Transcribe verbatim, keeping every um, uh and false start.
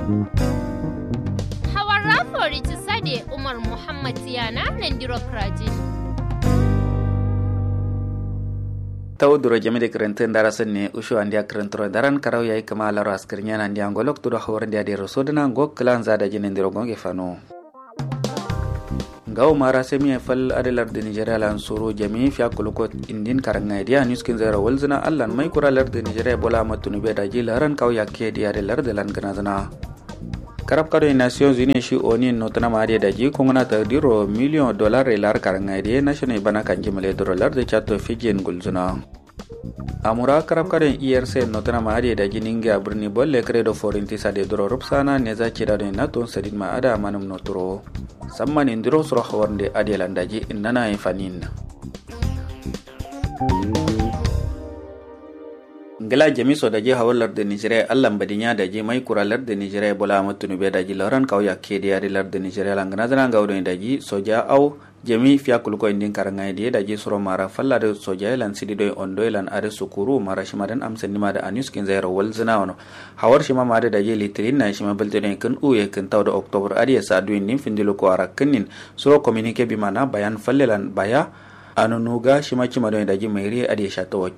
Hawar rafori cisade umar muhammad tiyana nandiro krajin. Tawo duro jami de kǝrǝntǝ ndara sǝnne ushu andiya kǝrǝntǝro daran karau yayi kǝma alaro askǝrnya nandiya ngo loktu do hawar ndiya de roso dǝna ngo kǝlan za daji nandiro ngo nge fano. Ngawo mara semiye fal adǝ lardǝ nigeria lan suru jami fiya kuluko indin karangaye diya nuskin zairo walzǝna allan mai kura lardǝ nigeria bola ahmad tunube daji laran kawo yakke diya de lardǝ lan gǝnazǝna. Karab kado nations union shi onin notuna ma ade daji kunguna tardiro miliyon dolar re lar karangaye diye nashino ibana kanji male duro lardǝ chato fijin gulzuna. Amura karab kado erc notuna ma ade daji ningiya birni bolle kredo forinti sade duro rupsana neza cida do nato sadin ma ada manum noturo. Samma nindiro suro hawarnde ade lan daji innana ye fanin. Ngla jami so daji hawar lardǝ nigeria allan badinya daji mai kura lardǝ nigeria bola ahmad tunube daji laran kawo yakke diya de lardǝ nigeria lan gǝnazǝna ngawo doi daji soja au jami fiya kuluko indin karangaye diye daji suro mara falla dǝ soja ye lan sidi doi ondo ye lan adǝ sukuru mara shima dǝn amsandima dǝ anuskin zairo walzǝna wono. Hawar shima ma adǝ daji litirin na shima bǝlte doi kǝn uye kǝn tau dǝ oktobar adǝ ye sa du indin findi luko arakkǝnnin suro kominike bima na bayan falle lan baya. Anunu ga shima cima doi daji mairi ye adǝ ye shato wakki.